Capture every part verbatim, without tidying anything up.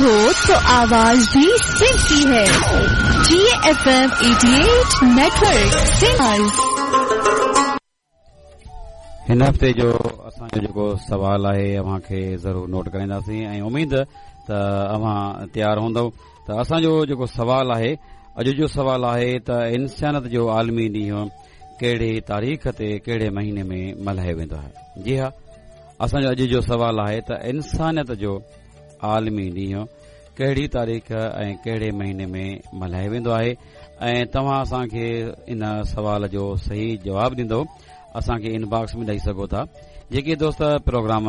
हो तो आवाज भी सिंह की है। G F M eighty eight network Singh. हिन हफ़्ते जो असांजो जेको सवाल आहे अव्हां खे ज़रूर नोट कराईंदासीं ऐं उमेद त अव्हां तयारु हूंदव। त असांजो जेको सवाल आहे, अॼु जो सवाल आहे त इंसानियत जो आलमी ॾींहुं कहिड़ी तारीख़ ते कहिड़े महीने में मल्हायो वेंदो आहे? जी हा, असांजो अॼु जो सवाल आहे त इंसानियत जो आलमी ॾींहुं कहिड़ी तारीख़ ऐं कहिड़े महीने में मल्हायो वेंदो आहे? ऐं तव्हां असांखे इन सवाल जो सही जवाबु ॾींदव, असांखे इनबॉक्स में ॾेई सघो था। जेके दोस्त प्रोग्राम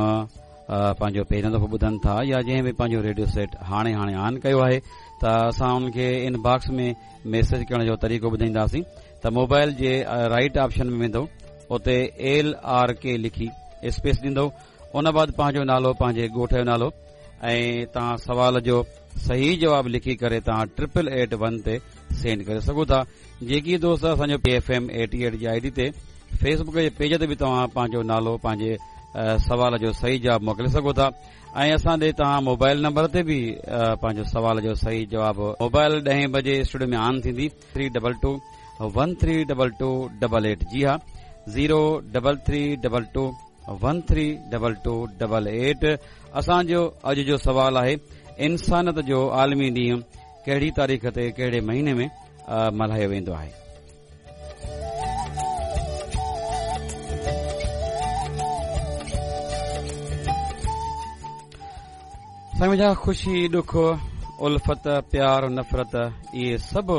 पंहिंजो पहिरियों दफ़ो ॿुधनि था या जंहिं बि पंहिंजो रेडियो सेट हाणे हाणे ऑन कयो आहे त असां उनखे इनबॉक्स में मैसेज करण जो तरीक़ो ॿुधाईंदासीं। त मोबाइल जे राइट ऑप्शन में वेंदव, उते एल आर के लिखी स्पेस ॾींदव, उन बाद पंहिंजो नालो, पंहिंजे ॻोठ जो नालो ऐं तव्हां सवाल जो सही जवाबु लिखी करे तव्हां ट्रिपल एट वन ते सेंड करे सघो था। जेकी दोस्त असांजो P F M eighty eight जी I D ते फेसबुक जे पेज ते बि तव्हां पंहिंजो नालो, पंहिंजे सवाल जो सही जवाबु मोकिले सघो था। ऐं असां ॾे तव्हां मोबाइल नंबर ते बि पंहिंजो सवाल जो सही जवाबु, मोबाइल ॾहें बजे स्टूडियो में ऑन थींदी, three double two one three double two double eight. जी हा, zero double three double two one three double two double eight. असांजो अॼु जो सवाल आहे, इंसानियत जो आलमी ॾींहुं कहिड़ी तारीख़ ते कहिड़े महीने में मल्हायो वेंदो आहे? साईं, ख़ुशी, ॾुख, उल्फत, प्यार, नफ़रत, इहे सभु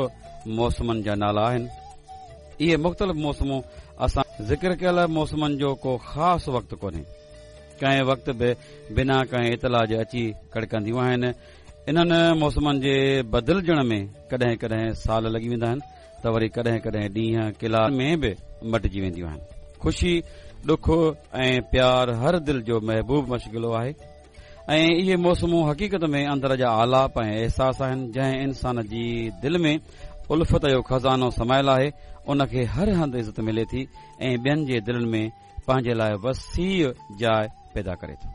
मौसमनि जा नाला आहिनि। इहे मुख़्तलिफ़ मौसमूं असां ज़िक्र कयल मौसमनि जो को ख़ासि वक़्तु कोन्हे, कंहिं वक़्तु बि बिना कंहिं इतला जे अची कड़कंदियूं आहिनि। इन्हनि मौसमनि जे बदिलजण में कॾहिं कॾहिं साल लॻी वेंदा आहिनि त वरी कॾहिं कॾहिं ॾींहं कलाक में बि मटिजी वेंदियूं आहिनि। ख़ुशी, ॾुख ऐं प्यार हर दिलि जो महबूब मशगिलो आहे ऐं इहे मौसमूं हक़ीक़त में अंदर जा आलाप ऐं अहसास आहिनि। जंहिं इंसान जी दिलि में उल्फत जो ख़ज़ानो समायल आहे, उनखे हर हंधि इज़त मिले थी ऐं ॿियनि जे दिलनि में पंहिंजे लाइ वसीअ जाइ पैदा करे थो।